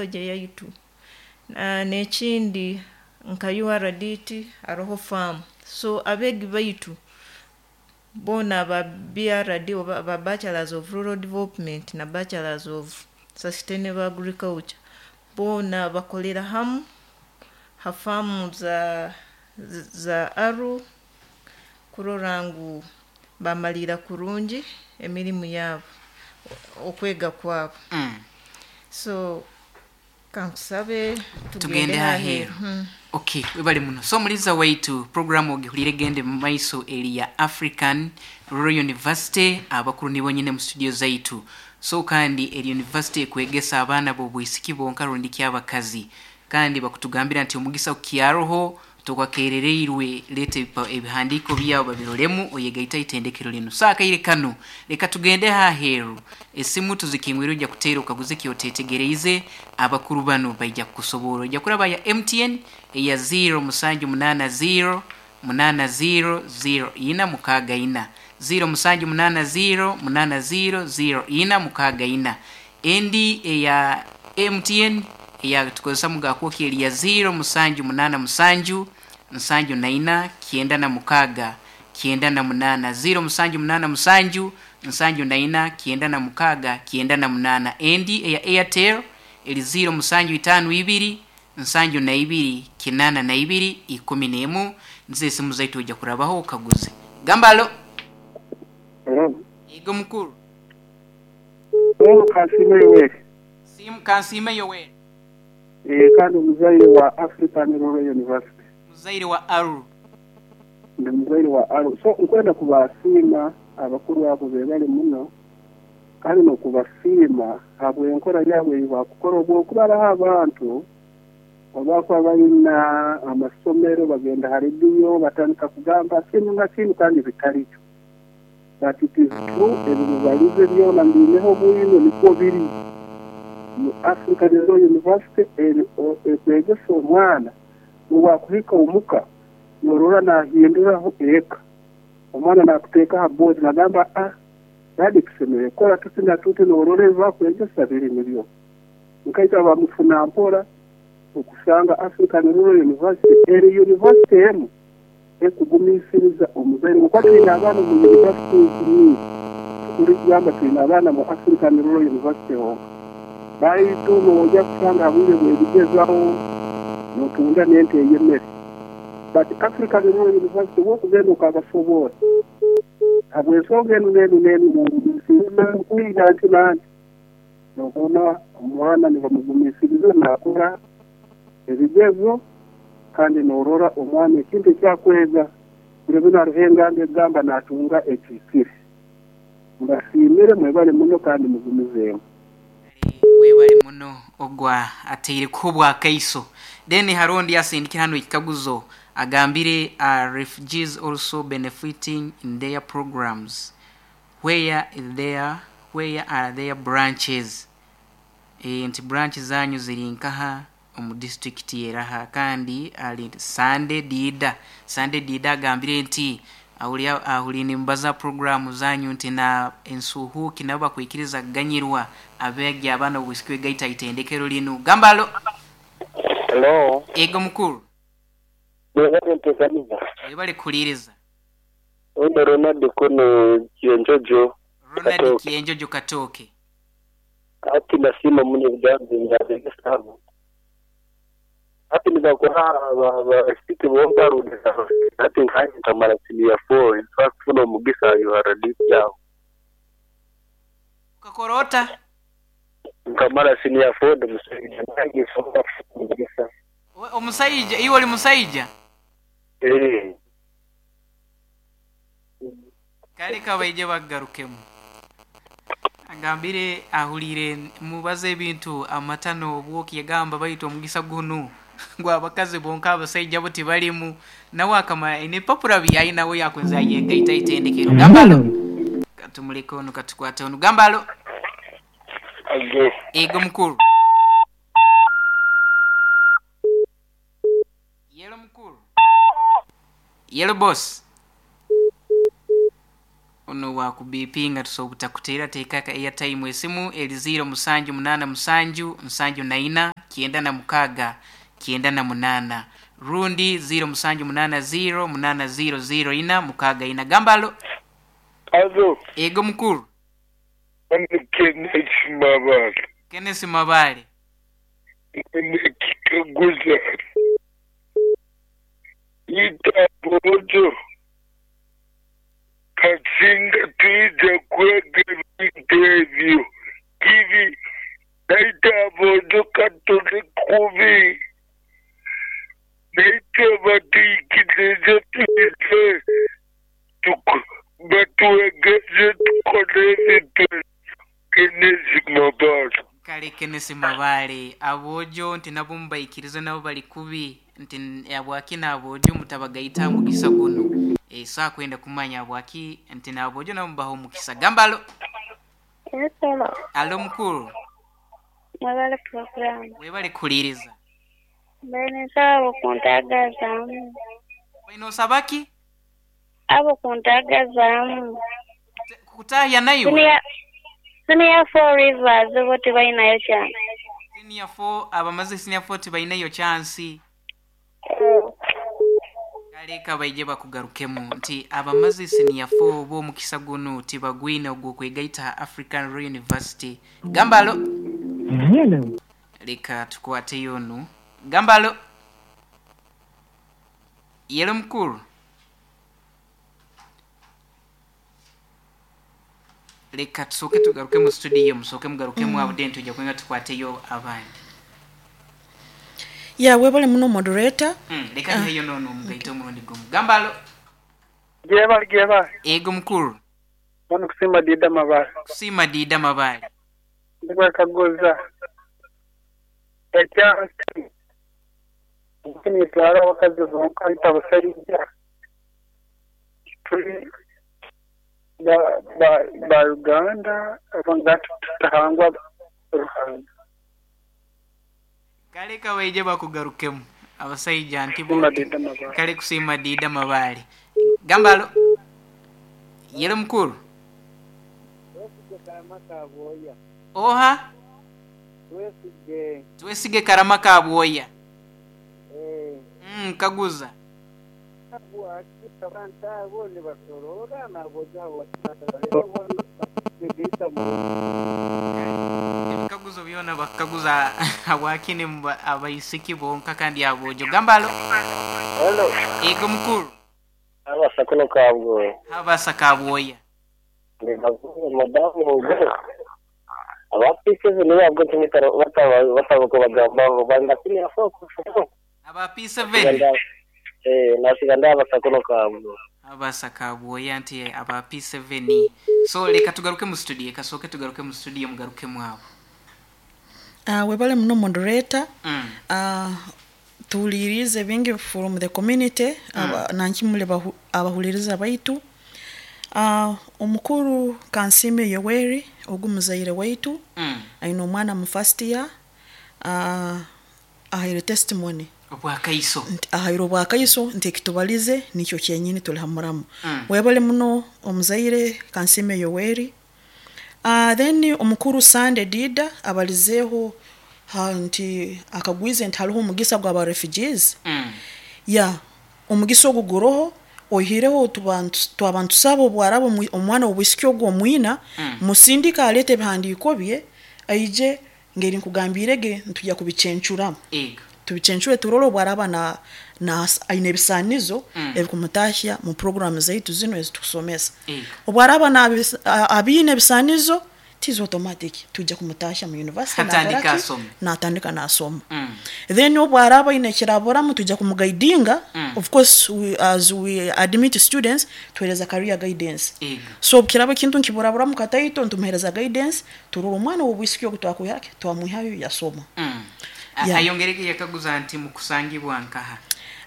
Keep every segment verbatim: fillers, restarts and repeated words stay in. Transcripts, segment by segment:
Yaitu. N'ekindi, nka U R D T haroho faamu, so abeegi baitu boona aba B R D oba aba Bachelors of Rural Development na Bachelors of Sustainable Agriculture, boona bakolera hamu ha faamu za za ARRU kurora ngu bamaliira kurungi emirimu yaabo, okwega kwabo. Mm. So kankusabe tugende tugende aheeru. Aheeru. Okay, webale muno. So omuliza waitu, programu ogihulire gende mu maiso eri ya African Rural University. Abakuru nibo nyine mu studio zaitu. So kandi eri university ekwegesa abaana b'obwisiki bonka rundi kyabakazi, kandi bakutugambira nti omugisa kukyaroho, tokwakerereirwe, leeta ebipa- ebihandiiko byabo babirolemu, oyegaita itendekero linu. So akaire kano reka tugende haheeru, esimu tuzikingwire, ojja kuteera okaguze kyotetegereize, abakuru bano baija kukusoborra. Ojja kuraba ya M T N eya zero musanju munaana zero munaana zero zero ina mukaaga ina, zero musanju munaana zero munaana zero zero ina mukaaga ina. Endi eya M T N eya tukozesa mugakwoki eri ya zero musanju munaana musanju nsanju na ina kyenda na mukaaga kyenda na munaana, zero musanju munaana musanju nsanju na ina kyenda na mukaaga kyenda na munaana. Endi eya Airtel eri zero musanju itaano ibiri nsanju na ibiri kinaana na ibiri ikumi n'emu. Nizo esimu zaitu, ojja kurabaho okaguze. Gamba alo. Hello. Ego mukuru. Wewe Kansiime Yoweri. Simu Kansiime Yoweri. Eh, kandi omuzaire wa African Rural University. Muzaire wa ARRU. Ndi muzaire wa ARRU. So nkwenda kubasiima abakuru abo bebali muno, kandi n'okubasiima habw'enkora yaabwe ei bakukora, obwokuba hariho abantu abakuba balina amasomero bagenda ha rediyo batandika kugamba kinu na kinu kandi bitarikyo. But it is true, ebimubalize byona mbiineho bwino, nikwo biri. Mu African Rural University eri- o- ekwegesa omwana obwakuhika omuka, norora nahinduraho eka. Omwana nakuteeka ha board, nagamba, "Ah, daddy, tusemere kukora tuti na tuti." Norora ebi bakwegesa biri nibyo nkaita bamufuna mpora okusanga African Rural University eri university emu ekugumiisiriza omuzaire, kuba twine abaana mu universities nyingi, tukuri kugamba twine abaana mu African Rural University honka, baitu nojja kusanga habwire bwebigezaho notunda n'ente ey'emmere. But African Rural University, wokugenda okabasoboora habw'ensonga enu n'enu n'enu, nkuyiga nti nanti nobona omwana nibamugumiisiriza nakora ebigezo, kandi norora omwana ekintu ekyakwega buli bino hariho enganda egamba natunga ekihikire. Mbasiimire, mwebale muno kandi mugumizeemu. Webale muno, ogwa ateire kubwa kaiso. Then harondi asindikira hano ekikaguzo, agambire, "Are refugees also benefiting in their programs? Where is their where are their branches?" E, nti branch zanyu ziri nkaha omu district eraha? Kandi ali Sande Dida, Sande Dida agambire nti ahuli ahuli nimbaza programu zanyu nti na ensuhuki nabo bakwikiriza kuganyirwa abeegi abaana obwisiki wegaita itendekero linu. Gambalo. Hello. Ego mukuru. Mwebale ntekaniza. Webale kuliiriza. Ono Ronald kuno Kyenjojo. Ronald. Katooke. Kyenjojo Katooke. Ati nasiima muno ebigambo byabegesabo. Ati nibakora abasiki bonka rundi ati nkanye nkamara senior four, in fact funa omugisa U R D yawo. Ukakorota. Nkamara senior four, ndi musajja nange nsobola kufuna omugisa. We- omusaija iwe oli musaija? Eh. Kale kabaije bagarukemu. Agambire ahulire mubaze ebintu amata n'obwoki, yagamba baitu omugisa gunu gwabakazi bonka, abasaija bo tibalimu. Nawe akama nepapura byayinawe yakwenza yegaita itendekero. Gambalo, katumuleke ono, katukwate ono. Gambalo. Age. Ego mukuru. Yelo mukuru, yelo boss. Ono wakubipinga tusobola kuteera teeka airtime esimu eri ziro musanju munaana musanju nsanju na ina kyenda na mukaaga kyenda na munaana rundi ziro musanju munaana ziro munaana ziro ziro ina mukaaga ina. Gambalo. Alo. Ego mukuru. Kenneth Mabale. Kenneth Mabale. Kikaguza. Ita bojo. Kasinga tuija kwega ebintu ebyo. Kibi. Naita bojo katole kubi. Naita batuikirize tuije. Batuwegeze tukole ebintu. Kenneth Mabale. Kale Kenneth Mabale abojo nti nabo mubaikirize nabo bali kubi nti abwaki nabojo mutabagaita mukisa guno e saa kwenda kumanya abwaki nti nabojo nabo mubaho mukisa. Gambalo. Hello. Alo mukuru. Mwebale program. Webale kuliriza. Mbene sabo kuntagazamu. Wino sabaki? Abo kuntagazamu. Kutaya nayo. Senior four Rivers bo tibalinayo chance. Senior four abamaze senior four tibalinayo chance. Kale kabaije bakugarukemu nti abamaze senior four bo mukisa guno tibagwina ogwo kwegaita African Rural University. Gambalo. Hello. Leka tukwate yonu. Gambalo. Yelo mukuru. Leka tusoke tugaruke mu studio musoke mugaruke mu abudenti tujja kwenga tukwateyo abandi. Ya webale muno moderator. Mm, leka uh, hiyo no no mugaito omurundi gumu. Gambalo. Geba geba. Ego mukuru. Bano kusima dida mabale. Kusima dida mabale. Ndikwa kagoza. Ekya kini twara wakazi zonka itabasayija. Tuli ba ba ba Uganda abangatu tutahangwa Ruhanga. Kale kaweje bakugarukemu abasayija nti bo kale kusima dida mabale. Gambalo. Yelo mukuru. Oha. Twesige. Twesige karama kabwoya. Eh. Mm kaguza. Ebikaguzo byona bakaguza abwakini abaisiki bonka kandi abojo. Gambalo. Hello. Ego mukuru. Abasakuno kabwoya. Abasa kabwoya. Madamu ogo. Abapise ni babwo timitaro bataba bataba bagamba banda kini afoko. Aba P seven. Eh nasiganda abasakuno kabwo. Abasa kabwoya nti aba P seven. So leka tugaruke mu studio kasoke tugaruke mu studio mugaruke mwabo. Ah uh, webale muno moderator. Mm. Ah uh, tulirize bingi from the community mm. aba nankimule abahuliriza baitu. Uh, omukuru Kansime Yoweri ogumuzaire waitu mm. aino omwana mu first year uh, ahaire testimony obwakaiso ahaire obwakaiso nti ekitubalize nikyo kyenyini tuli hamuramu mm. Webale muno omuzaire Kansime Yoweri. Uh, then omukuru Sande Dida abalizeho ha, nti akagwize nti hariho omugisa gwa refugees mm. ya omugisa oguguroho ohireho tubantu twabantu sabo bwarabo omwana obwisiki ogwo mwina mm. musindika alete ebihandiiko bye aije ngeri nkugambirege ntujya kubicencura ego tubicencure turolo bwaraba na na aine ebisanizo mm. ebikumutahya mu program zaitu zino ezitusomesa ego obwaraba na abine ebisanizo tizo automatic tujya kumutahya mu university atandika asoma na atandika na asoma mm. Then obwaraba ine kirabora tujya kumuguidinga mm. Of course we, as we admit students tuhereza career guidance ego so kiraba kintu nkiburabura mukataito ntumuhereza guidance turoro omwana obwisiki ogutwakuyake twamuhayo yasoma mm. Yeah. Ayongereke yakaguza nti mukusangibwa nkaha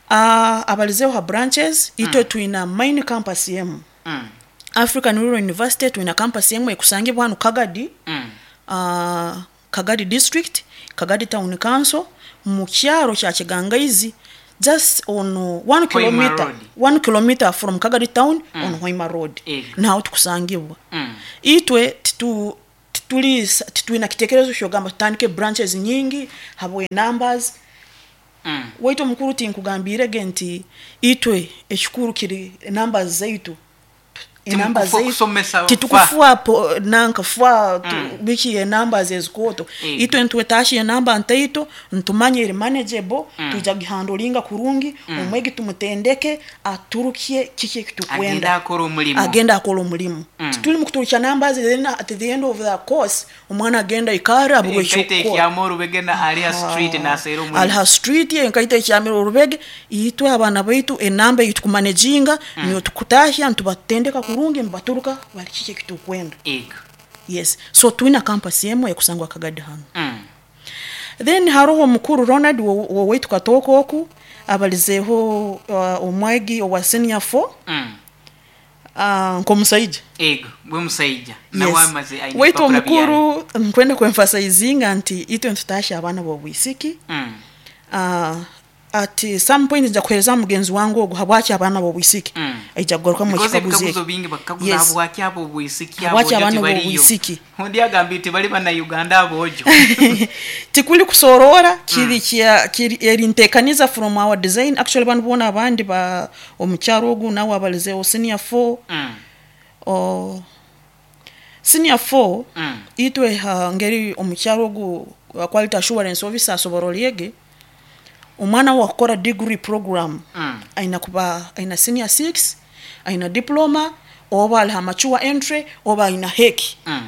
uh, abalizeho ha branches mm. Ito tuina main campus yemu mm. African Rural University tuina campus yemu ekusangibwa hano Kagadi mm. uh, Kagadi District, Kagadi Town Council mu kyaro kya Kigangaizi Just on uh, one Hoima kilometer Road. one kilometer from Kagadi town mm. on Hoima Road. Ego. Naho tukusangibwa. Mm. Itwe titu tituli titwina kitekerezo kyogamba tutandike branches nyingi habwe numbers. Mm. Waitu omukuru tinkugambirege nti itwe ekikuru kiri numbers zaitu enamba Timukufa zaitu kusomesa titukufua po nanka fwa tu- Mm. biki enamba zezikoto. Ego. Itwe ntwetashi enamba ntaito ntumanye eri manageable. Mm. Tuija gihandolinga kurungi. Omwegi tumutendeke aturukie kiki Agenda ekitukwenda akora omulimu. Agenda akora omulimu. Mm. Tituli mukuturukya numbers, then at the end of the course omwana agenda ikara abulwe Enkaito ekyokukora. ekyama orubege na aliha street naseera omulimu. Aliha street enkaito ekyamire orubege. Itwe abaana baitu enamba ei tukumanejinga mm. niyo tukutahya ntubatendeka kurungi nibaturuka bali kiki ekitukwenda. Ego. Yes, so twina campus emwe ekusangwa Kagadi hanu. Mm. Then haroho omukuru Ronald wowaitu Katoko oku abalizeeho uh, omwegi owa senior four. Mm. uh, nk'omusaija. Ego bwe musaija nawe Yes. amaze aine Waitu ebipapura byayo. omukuru nkwenda kwemphasizinga nti itwe ntutahya abaana b'obwisiki. Mm. uh, at some point nja kuhereza mugenzi wange ogwo habwaki abaana b'obwisiki. Mm. Aija kugarukamu Because ekikaguzo ebikaguzo ekyo. bingi bakaguza Yes. habwaki abo obwisiki Habwaki abojo abaana tibaliyo. b'obwisiki? Ondi agambire tibali bannayuganda abojo. Tikuli kusorora kiri kya kiri eri ntekaniza from our design. Actually banu bona abandi ba omukyaro ogu nawe abalizeeho senior four. Mm. O senior four. Mm. Itwe ha ngeri omukyaro ogu uh, quality assurance officer asobora olyege omwana wakukora degree program. Mm. Aina kuba aina senior six, aina diploma oba aliha mature entry oba aina H E C. Mm.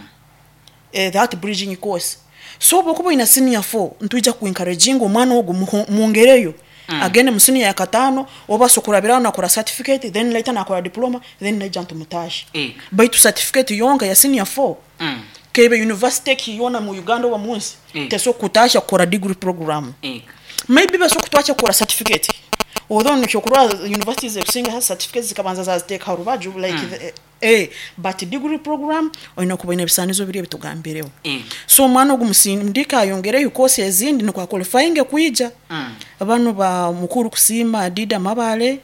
eh, that bridging course. So bwokuba oina senior four ntwija kuencouraginga omwana ogu muho- mwongereyo mm. agende mu senior ya katano oba sokurabiraho nakora certificate, then later nakora diploma, then naija ntumutashe. Ego. Baitu certificate yonka ya senior four Mm. kebe university kiyona mu Uganda oba munsi Ego. teso kutasha kukora degree program. Ego. Maybe baso kutwacha kukora certificate, although nikyokurwa universities ekusinga ha certificates zikabanza zaziteeka rubaju like mm. the, eh, but degree program olina kuba ine ebisanizo biri ebitugambireho. Ego. So omwana ogu musindika ayongereyo course ezindi nikwa qualifying kwija. Mm. Bano ba mukuru kusiima Dida Mabale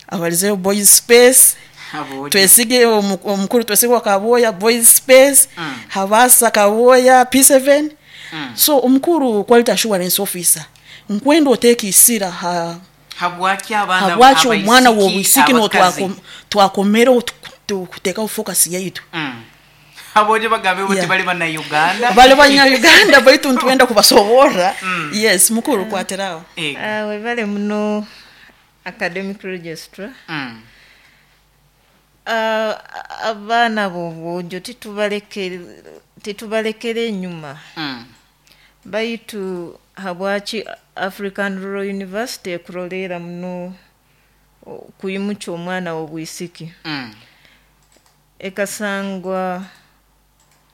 abalizeyo boys space. Abojo. Twesige omu- omukuru twesige Kaboya boys space. Mm. Habasa Kaboya P seven. Mm. So omukuru quality assurance officer nkwenda oteeka isira ha Habwaki abaana habwaki omwana abaisiki, w'obwisiki no abakazi? twakomereho kuteekaho focus yaitu. Mm. Abojo bagambe bo Yeah. tibali bannayuganda. Bali banyayuganda baitu ntwenda kubasoborra. Yes, mukuru kwatiraho. Ego. Ah, webale muno academic registrar. Mm. Ah, abaana b'obwojo titubaleke- titubalekera enyuma. Mm. Baitu habwaki African Rural University ekuroleera muno o- kuyimukya omwana w'obwisiki? Mm. Ekasangwa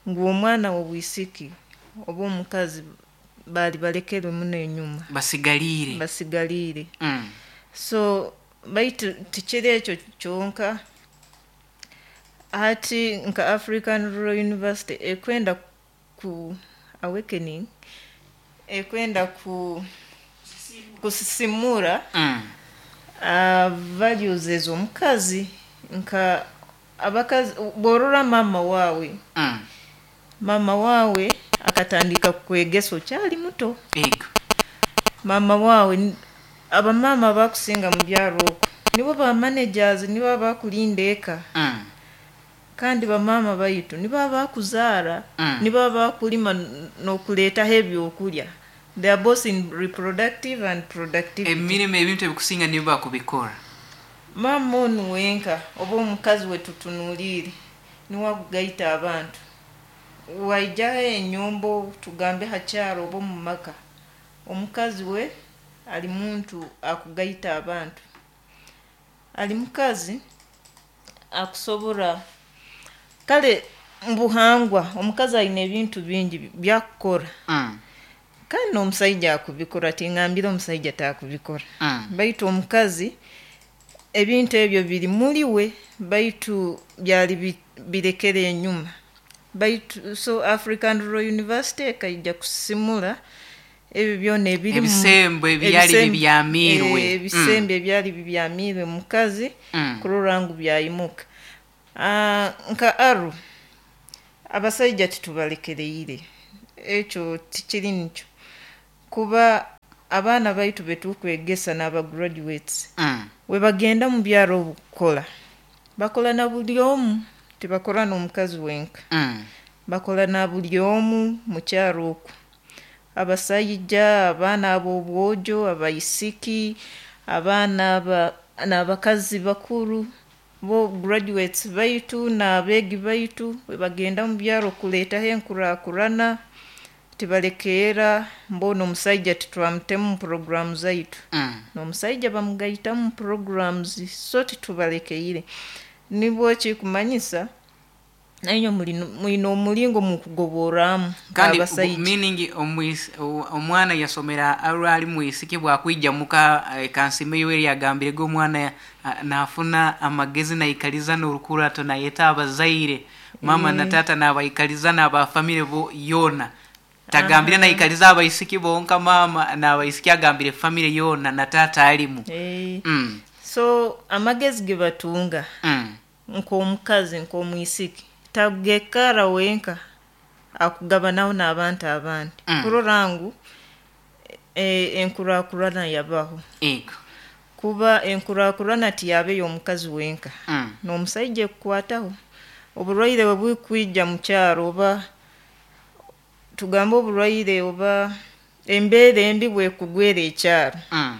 ngu omwana w'obwisiki oba omukazi baali balekere muno enyuma. Basigaliire. Basigaliire. Mm. So baitu tikiri ekyo kyonka, hati nka African Rural University ekwenda ku awakening, ekwenda ku kusisimura Mm. uh, values ez'omukazi nka abakazi bworora mama waawe. Mm. Mama waawe akatandika kwegesa okyali muto. Ego. Mama waawe n- abamaama bakusinga mu byaro okwo nibo ba managers, nibo abakulinda eka. Mm. Kandi bamaama baitu nibo abakuzaara. Mm. Nibo abakulima n- n'okuleetaho ebyokulya. They are both in reproductive and productivity. Emirimu ebintu ebikusinga nibo bakubikora. Maama onu wenka oba omukazi we tutunuulire niwe agugaita abantu waijaho enyombo tugambe hakyaro oba omu maka. Omukazi we ali muntu akugaita abantu, ali mukazi akusobora kale mubuhangwa omukazi alina ebintu bingi byakukora. Mm. Kandi n'omusaija akubikora, tingambire omusaija takubikora. Mm. Baitu omukazi ebintu ebyo biri muri we, baitu byali bi- birekere enyuma. Baitu so African Rural University ekaija kusimura Ebyo byona ebiri mu- Ebisembo ebyali ebisembo- bibyamirwe. eh, ebisembo ebyali bibyamirwe mukazi Mm. kurora ngu byayimuka. Ah, nka Aruu, abasaija titubalekereire, ekyo tikiri nikyo, kuba abaana baitu betukwegesa n'aba graduates Mm. we bagenda mu byaro okukora, bakora na buli omu, tibakora n'omukazi wenka. Mm. Bakora na buli omu mu kyaro okwo, abasaija, abaana ab'obwojo, abaisiki, abaana aba n'abakazi bakuru. Bo graduates baitu n'abeegi baitu we bagenda mu byaro kuleetaho enkurakurana, tibalekeera. Mbona omusaija titwamutemu mu programu zaitu. Mm. N'omusaija bamugaitamu mu programs, so titubalekeire. Nibwo kikumanyisa nainywe mwine omulingo mukugoborramu Kandi nk'abasaija. Meaning omwis- o- omwana yasomera Aruu ali mwisiki, bwakwija muka, eh, Kansime Yoweri yagambire ge omwana ah, nafuna amagezi naikaliza n'orukurato, nayeta abazaire, mama na tata, nabaikaliza n'abafamire bo yona. Tagambire naikaliza abaisiki bonka, mama n'abaisiki, agambire famire yona na tata alimu. Eh, mm. So amagezi ge batunga Mm. nk'omukazi, nk'omwisiki, tagekara wenka, akugabanaho n'abantu abandi Mm. kurora ngu e, enkurakurana yabaho. Ego. Kuba enkurakurana tiyaba ey'omukazi wenka, mm. n'omusaija ekukwataho. Oburwaire bwe bukwija mu kyaro, oba tugambe oburwaire oba embeera embi bwekugwera ekyaro, Mm.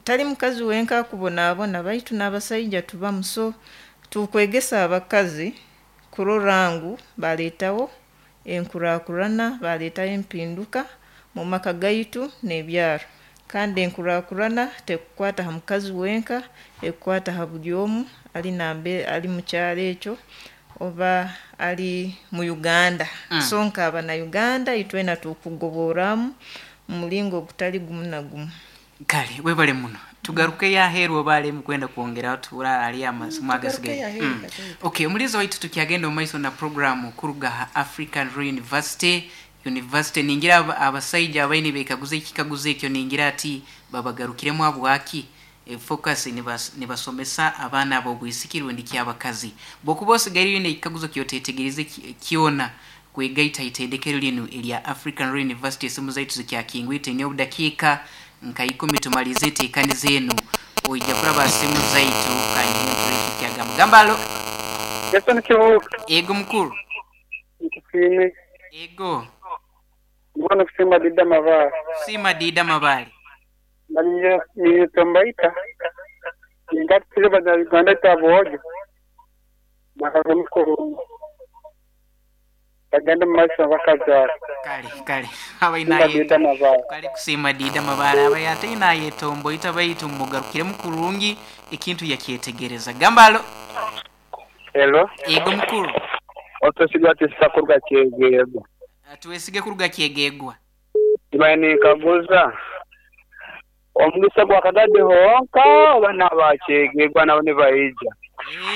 tali mukazi wenka akubonaabona, baitu n'abasaija tubamu. So tukwegesa abakazi kurora ngu baleetawo enkurakurana, baleetawo empinduka mu maka gaitu n'ebyaro. Kandi enkurakurana tekukwata ha mukazi wenka, ekukwata ha buli omu ali nambe ali mu kyaro ekyo oba ali mu Uganda. Mm. So nk'abana Uganda itwena tukugoborramu mu mulingo ogutali gumu na gumu. Kale webale muno. Tugaruke yaheru oba ali mukwenda kwongera tura ali amasimu agasigaye. Tugaruke Mm. yaheru katoito. Okay, omulizi waitu, tukyagenda omu maiso na programu kuruga ha African Rural University. University ningira aba- abasaija abaine bekaguza ekikaguzo ekyo, ningira ati babagarukiremu abwaki e, focus nibas, nibasomesa abaana ab'obwisiki rundi kyabakazi. Bwokuba osigaire oine ekikaguzo kyotetegereze ki- kyona kwegaita itendekero linu erya African Rural University, esimu zaitu zikyakingwite. Ni obudakiika nka ikumi tumalize enteekaniza enu. Oija kuraba simu zaitu kanyihe kyagamba. Gamba alo. Jason Kibuuka. Ego mukuru. Nkusiime. Ego. Mbona kusima Dida Mabale. Sima Dida Mabale. Nitombaita ningatire banyarwanda tabwojo bakazomukurungu bagende mu maiso bakazaara. Kale kale. Sima Abainaye Dida Mabale. Kale kusiima Dida Mabale. Abaye ate inayetomboita baitu mugarukiremu kurungi ekintu yakyetegereza. Gamba alo. Hello. Ego mukuru. Otosiga tisakurwa kyegego. Tuwesige kuruga kyegegwa. Ibaye nikaguza omugisa gwa Kagadi honka oba n'abakyegegwa nabo nibaija?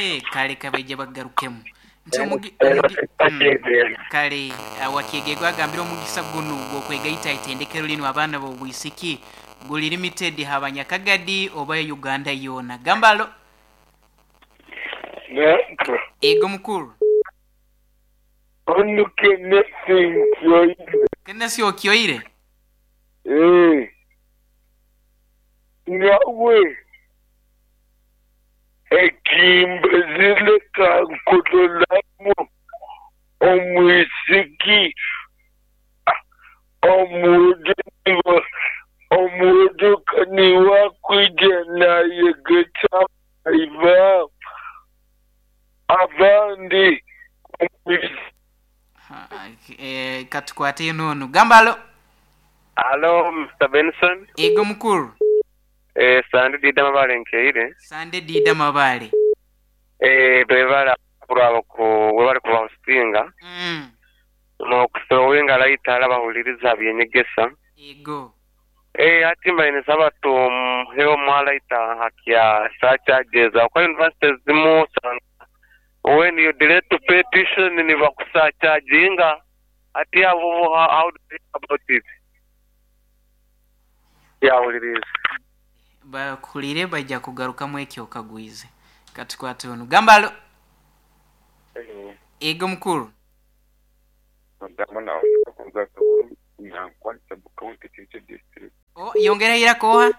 Eh, kale kabaija bagarukemu nti omugi, omugi, mm, kale wakyegegwa agambire omugisa guno gwokwegaita itendekero linu abaana b'obwisiki guli limited habanyakagadi oba Uganda yona. Gambalo. Naka. Ego mukuru. Onu kenesi nkyoire. Kenesi okyoire. Eh. Nawe ekimbezile kankulolamu omwisiki omuduka omuduka niwakwija nayegetsa iva abandi. Eh, katukwate nono. Gambalo. Alo, Mister Benson. Ego mukuru. Eh, Sande Dida Mabale nkeire. Sande Dida Mabale. Eh, bebala kuraba ku webali kuba hostinga. Mm. No kusowenga laita ala bahuliriza byenyegesa. Ego. Eh, ati mbaine sabatu heo mwalaita hakia surcharges kwa university zimu sana. When you delay to pay tuition ni bakusurcharginga. Ati abo how do you think about it? Yawuliriza. Bakuhulire, bajja kugarukamu ekyo okagwize. Katukwate ono. Gamba alo. Ego mukuru. Oh, yongera irako oha?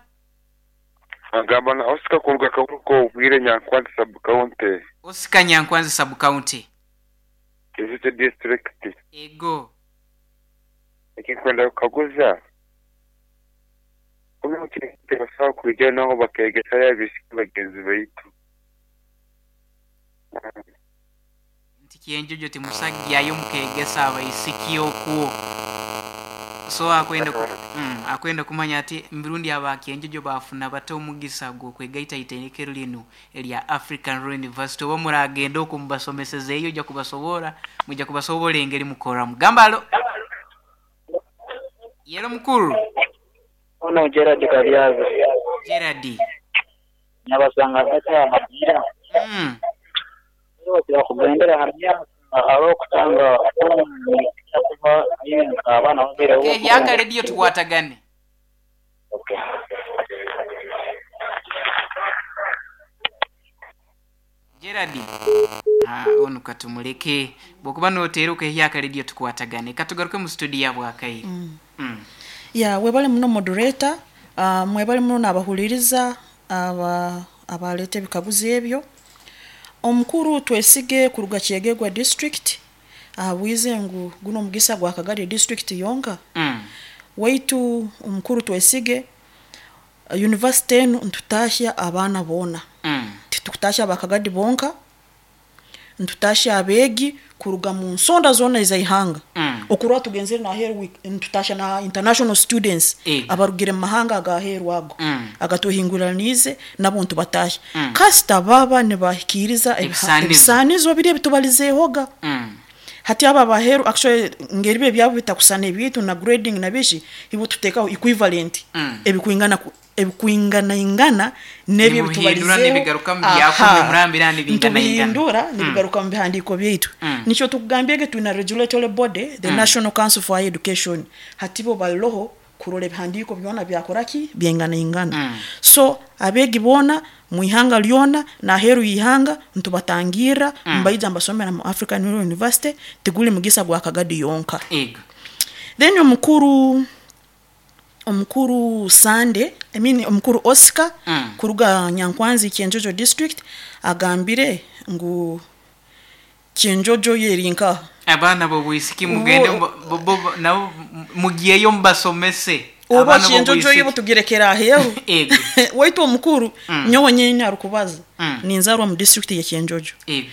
Agamba na Oscar kuruga Kaburuko obwire Nyankwanzi sub county. Oscar Nyankwanzi sub county. Kizito district. Ego. Ekikwenda kukaguza. Kumbe kirikutebasa kujya naho bakegesa yabisiki bagenzi baitu. Nti kienjojo timusajja yo mukegesa abaisiki okwo. So akwenda ku, mm, akwenda kumanya ati mirundi aba kienjojo bafuna bato omugisa gwo kwegaita itendekero lino erya African Rural University oba muragenda okumbasomeseza eyo ojja kubasobora mujja kubasobola engeri mukora mugambalo. Yero mukuru. Ono Gerard Kabyaza. Gerard. Nabasanga kata amabira. Mm. Ndio kugendera hamya aro kutanga kuba abana babere uko. Yaka radio tukwatagane. Okay. Gerard. Ah, ono katumuleke. Bwokuba noteruka yaka radio tukwatagane. Katugaruke mu studio ya Bwakaire. Mm. Mm. Ya webale muno moderator, uh, mwebale muno n'abahuliriza aba abalete bikaguzi ebyo. Omukuru Twesige kuruga Kyegegwa district ahabwize ngu guno omugisa gwa Kagadi district yonka. Mm. Waitu omukuru Twesige university enu ntutashya abaana boona. Mm. Titukutasha abakagadi bonka, ntutashya abeegi kuruga mu nsonda zona ez'ihanga. Mm. Okurwa tugenzere na heru ntutasha na international students e. abarugire mu mahanga agaheru ago mm. agatuhinguranize nabo ntubatasha. Mm. Kasita baba nibahikiriza ebisanizo biri ebitubalizehoga. Mm. Hati aba baheru actually ngeri bye byabo bitakusana ebitu na grading na bishi ibo tutekaho equivalent mm. ebikuingana ebikuingana ingana nebyo bitubalizeho nibigaruka mu byakumwe murambira nibingana ingana ntubihindura nibigaruka mu bihandiko byaitu. Mm. Nicho tukugambyege tuna regulatory body the mm. National Council for Higher Education hatibo baloho kurole bihandiko byona byakoraki byengana ingana. Mm. So abegi bona muihanga lyona na heru ihanga ntubatangira mm. mbaija mbasomera mu African Rural University tiguli mugisa gwa Kagadi yonka. Ego. Then omukuru omukuru Sande, I mean omukuru Oscar mm. kuruga Nyankwanzi Kyenjojo district agambire ngu Kyenjojo yerinka abaana bo bwisiki mugende nabo mugiyeyo mbasomese oba Kyenjojo yibo tugirekera aheru. Ego. Waitu omukuru mm. nyowe nyene arukubaza mm. ninzarwa mu district ya Kyenjojo. Ego.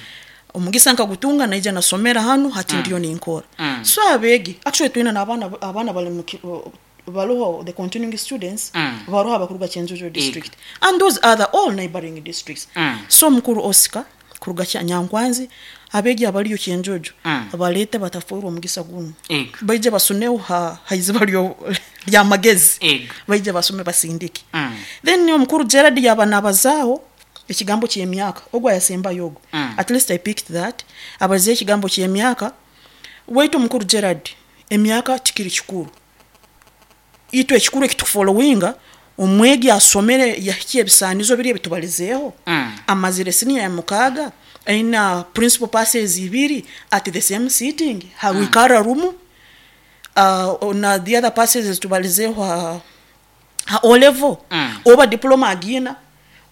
Omugisa nkagutunga naija nasomera hano hati mm. ndiyo ninkora. Mm. So abegi actually twina n'abaana abaana bali mu baluho the continuing students mm. baruha bakuruga Kyenjojo district e. and those other all neighboring districts. Mm. So mukuru Oscar kuruga Nyankwanzi abegi abaliyo Kyenjojo mm. abalete batafurwa omugisa guno e. baije basuneho ha haiziba lyo lya magezi e. baije basume basindike. Mm. Then omukuru Gerard yaba nabazaaho ekigambo ky'emyaka ogwa yasemba yogo. Mm. At least I picked that abaze ekigambo ky'emyaka waitu omukuru Gerard emyaka tikiri kikuru itwe ekikuru ekitufollowinga omwegi asomere yahikiye ebisanizo biri ebitubalizeeho. Mm. Amazire senior ya mukaga aina principal passes ibiri at the same sitting hawikara mm. rumu uh, na the other passes tubalizeeho ha, ha O level. Mm. Oba diploma agina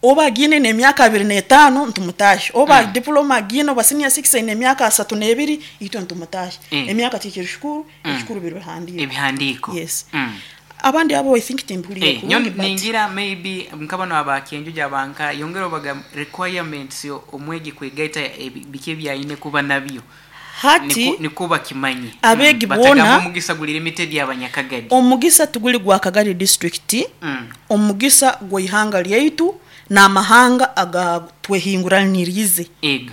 oba agine n'emyaka abiri n'etaano ntumutashe oba mm. diploma agina oba senior six n'emyaka asatu n'ebiri itwe ntumutashe. Mm. Emyaka tikiri kikuru Mm. ekikuru biri bihandiiko ebihandiiko. Yes. Mm. Abandi abo I think timbuliye Eh, nyo ningira maybe mkabano aba Kyenjojo abanka yongera obaga requirements yo omwegi kwegaita bike byayine kuba nabyo hati nikuba kimanyi abegi mm. bona omugisa guli limited y'abanyakagadi omugisa tuguli gwa Kagadi district. Mm. Omugisa gw'ihanga lyaitu n'amahanga agatwehinguranirize. Ego.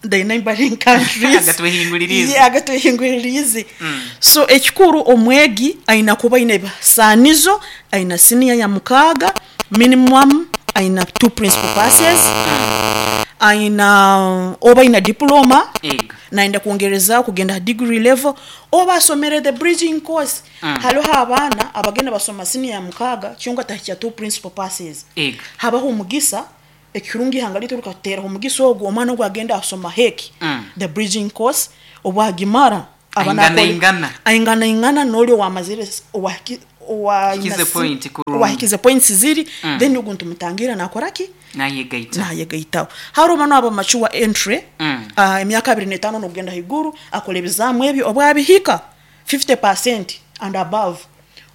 The neighboring countries agatwehinguririze. Yeah, agatwehinguririze. Mm. So ekikuru omwegi aina kuba aine ebisanizo aina senior ya mukaga minimum aina two principal passes. Mm. Aina oba aina diploma, Ego. Naenda kuongereza kugenda degree level, oba asomere the bridging course. Mm. Hariho abaana abagenda basoma senior ya mukaaga kyonka tahikya two principal passes. Ego. Habaho omugisa ekirungi ihanga litu likateeraho omugisa ogwo, omwana ogwo agenda asoma heki, Mm. the bridging course, obwagimara aba Aingana nakora- ingana. aingana ingana n'oli owamazire owahiki- owa- Hikize point kurungi. owahikize points ziri. Mm. Then ogu ntumutangira nakoraki? Nayegaita. Nayegaitaho. Hariho bano aba mature entry, Mm. ah, emyaka abiri n'etaano n'okugenda haiguru, akora ebizaamu ebyo, obwabihika fifty percent and above,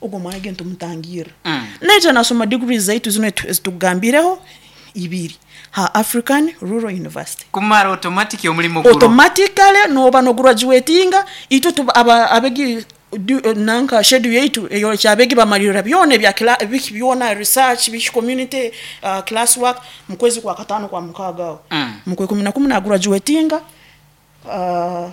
ogwo mwana ge ntumutangira. Mm. Naija nasoma degrees zaitu zino etu- ezitukugambireho ibiri ha African Rural University. Kumara automatic omulimo guro. Automatically noba nograduatinga, itwe tuba- aba- abegi du- eh, nanka schedule yaitu eyo kyabegi bamalirira byona ebya kila- biki byona, research, biki, community, uh, class work, mu kwezi kwa katano, kwa mukaaga aho. Mm. Mu kwe kumi na kumu nagraduatinga, uh,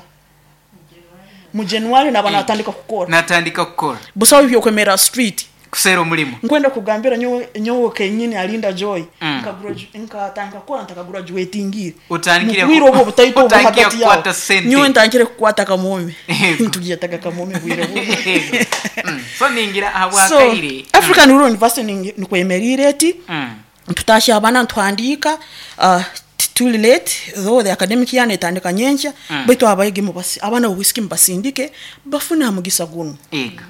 mu January naba natandika kukora. Natandika kukora. Busaho byokwemera street. Kuseera omulimu. Nkwenda kugambira nyowe nyowe kenyini alinda Joy, Mm. nka nkatandika kukora ntakagraduatingire. Utandikire Mubwire obwo obutaito obwo utandikire hagati yawo, kukwata sente. nyowe ntangire kukwata kamome. Yego. Ntugiyetaga kamome bwire bumwe. Ego. Mm. So ningira So ahabwakaire. African Rural University ningi- nikwemerire eti Mm. tutasha abaana, ntuhandiika, uh, tuli late though, the academic year netandika nyenkya. Mm. Baitu abayigi mubasi abaana bobwisiki mubasindike bafune hamugisa guno. Ego.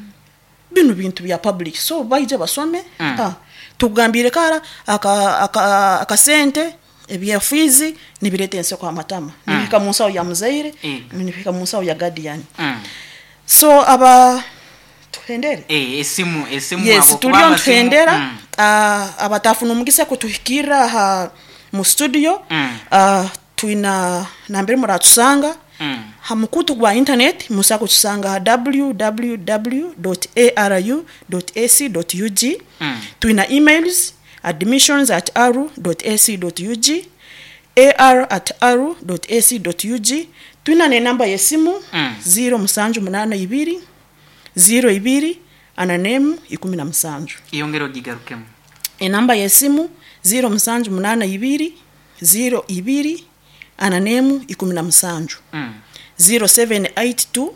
Bino bintu bya public, so baije basome. Mm. Ah, tugambire kara aka- aka- akasente ebya fees nibireta enseko amatama, nibihika mu nsawo ya muzaire, Ego. nibihika mu nsawo ya guardian. Mm. So aba tuhendere. Eh, esimu esimu Yes. abo, kuba Tuliyo amasimu- ntuhendera. Mm. Ah, abatafuna omugisa kutuhikirra aha mu studio, Mm. ah, twina nambere muratusanga. Mm. Ha mukutu gwa internet musa kutusanga ha w w w aru ac ug. Mm. Twina emails, admissions at aru ac ug, ar at aru ac ug. Twina nenamba yesimu, Mm. zero musanju munana ibiri zero ibiri ana nemu ikumi na musanju. Iyongera ogigarukemu. Enamba yesimu zero musanju munana ibiri zero ibiri ana nemu ikumi na musanju. Mm. zero seven eight two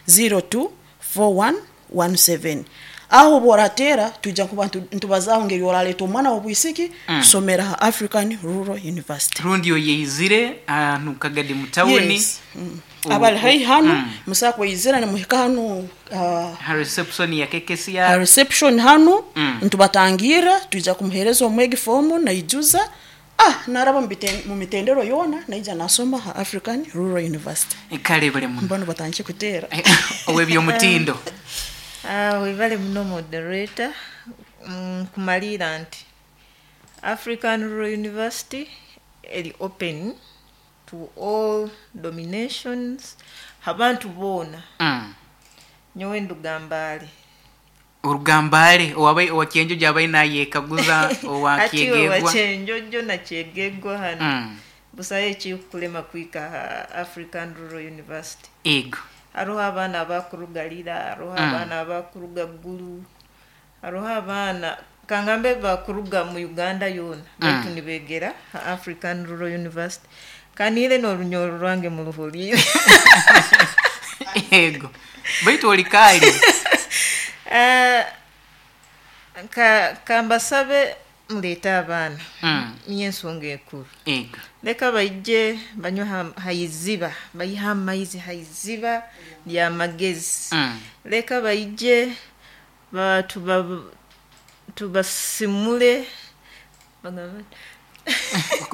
zero two four one one seven. Aho bworatera tujja kuba ntu- ntubazaho ngeri oraleta omwana wobwisiki Mm. kusomera ha African Rural University. Rundi oyeizire ahantu kagadi mu tawuni. Yes. Mm. U- abali haihi hanu, Mm. musa kweyizira nimuhika hanu, uh, Ha reception ya K K C R. Ha reception hanu. Mm. Ntubatangira, tuija kumuhereza omwegi fomu naijuza, ah, naraba mu biten- mu mitendero yona, naija nasoma ha African Rural University. Kale bale muno. Mbona batandike kuteera. Ow'ebyomutindo. Ah, webale muno moderator. Mm, kumalira nti African Rural University eri open to all dominations, abantu boona. Mm. Nyowe ndugambaale. Orugambale owabai owakyenjojo abai nayekaguza. Ati Owakyegegwa. Owakyenjojo nakyegegwa hano, Mm. busayo ekikukulema kwika ha African Rural University. Ego. Hariho abaana abakuruga Lira, hariho Mm. abaana abakuruga Gulu, hariho abaana kangambe bakuruga mu Uganda yoona, baitu nibegera ha African Rural University. Kanire n'orunyoro rwange muruhuriire. Ego, baitu olikaali. Ah, ka kambasabe muleete abaana. Mm. Niyo ensonga enkuru. Ego. Leka baije banywe ha- haiziba, bayihe amaizi haiziba lyamagezi. Mm. Leka baije ba- tuba- tubasimule, bagamba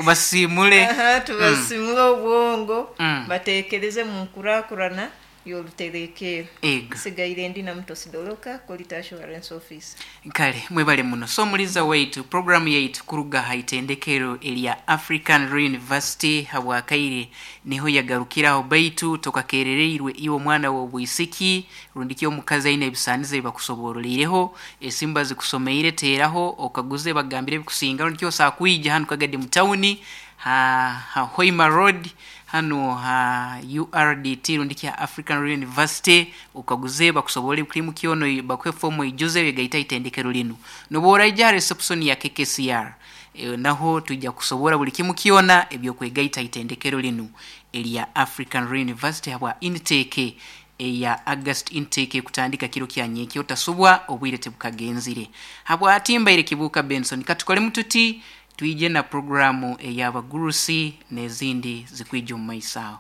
Basimule. Aha, tubasimule obwongo, Mm. batekereze mu nkurakurana y'oruterekero. Ego. Sigaire ndi na Mutosi Doloka, quality assurance office. Kale mwebale muno. So muliza waitu, programu yaitu kuruga ha itendekero erya African Rural University habwakaire niho yagarukiraho, baitu tokakerereirwe iwe omwana w'obwisiki rundiki omukazi aine ebisanizo ebibakusobororireho, esimba zikusomeire, teeraho okaguze bagambire ebikusinga, rundiki osakwija hanu kagadi mu tawuni. ha, ha Hoima Road hano ha U R D T rundi kya African Rural University, ukaguze bakusobole kulimu kyono, bakwe fomu ijuze wegaita itendekero linu. Noba oraija reception ya K K C R, e, naho tujja kusobora buli kimu kyona ebyokwegaita itendekero linu erya African Rural University habwa intake eya August intake kutandika kiro kya nyekyo. Otasubwa, obwire tebukagenzire. Habwa atimbaire Kibuka Benson, katukole mututi twije na programu ey'abagurusi n'ezindi zikwija omu maiso aho.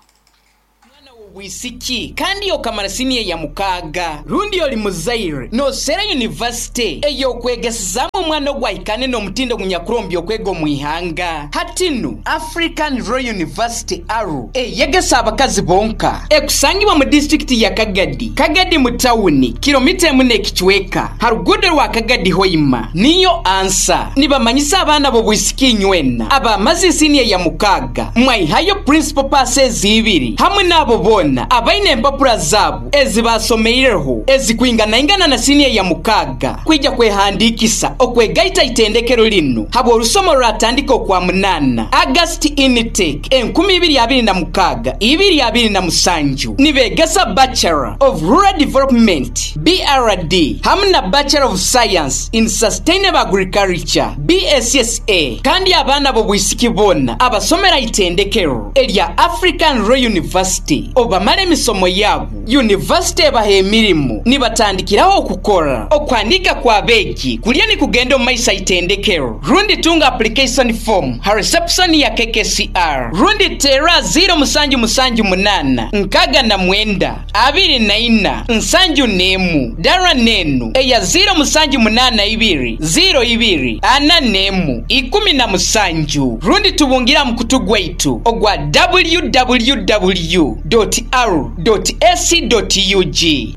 Bwisiki kandi okamara siniya ya mukaaga, rundi oli muzaire nosera yunivasite ey'okwegesezaamu omwana ogwahikane n'omutindo gunyakurombi okwega omu ihanga. Hatinu African Royal University ARU eyegesa abakazi bonka, ekusangibwa mu disitulikiti ya Kagadi, Kagadi mu tawuni, kilomita emu n'ekicweka ha ruguudo rwa Kagadi Hoima, niyo ansa. Nibamanyisa abaana b'obwisiki inywena abamaze siniya ya mukaaga mwaihayo principal passes ibiri, hamwe n'abo boona abaine empapura zaabo ezibasomeireho ezikwinganaingana na siniya ya mukaaga kwija kwehandikisa okwegaita itendekero linu habwa olusomo lwatandika okwa munana, August intake enkumi ibiri abiri na mukaaga ibiri abiri na musanju. Nibegesa Bachelor of Rural Development, B R D, hamwe na Bachelor of Science in Sustainable Agriculture, B S S A. Kandi abaana b'obwisiki boona abasomera itendekero erya African Royal University obamala emisomo yaabo, yunivasite ebaha emirimu nibatandikiraho okukora. Okwandika kwa beegi kulya nikugenda omu maiso itendekero, rundi tunga application form ha reception ya K K C R, rundi tera zero musanju musanju munana nkaga na mwenda abiri na ina nsanju nemu, dara nenu eya zero musanju munana ibiri zero ibiri ana nemu ikumi na musanju, rundi tubungira mukutu gwaitu ogwa w w w dot r dot a c dot u g.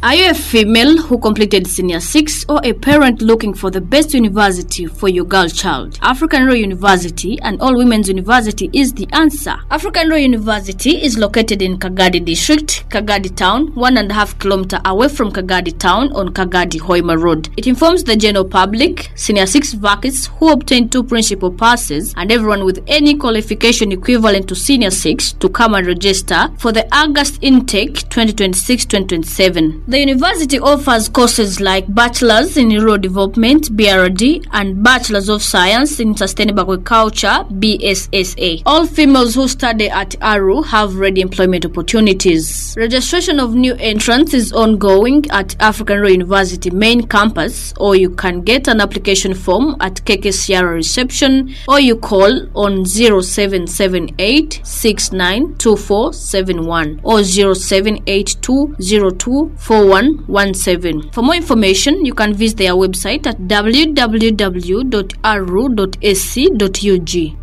Are you a female who completed senior six or a parent looking for the best university for your girl child? African Royal University and All Women's University is the answer. African Royal University is located in Kagadi District, Kagadi Town, one and a half kilometer away from Kagadi Town on Kagadi Hoima Road. It informs the general public, senior six vacancies who obtained two principal passes, and everyone with any qualification equivalent to senior six to come and register for the August intake twenty twenty-six twenty twenty-seven. The university offers courses like Bachelor's in Rural Development, B R D, and Bachelor's of Science in Sustainable Agriculture, B S S A. All females who study at ARU have ready employment opportunities. Registration of new entrants is ongoing at African Royal University main campus, or you can get an application form at K K C R reception, or you call on zero seven seven eight six nine two four seven one or zero seven eight two zero two four one one seven. For more information, you can visit their website at w w w dot a r u dot a c dot u g.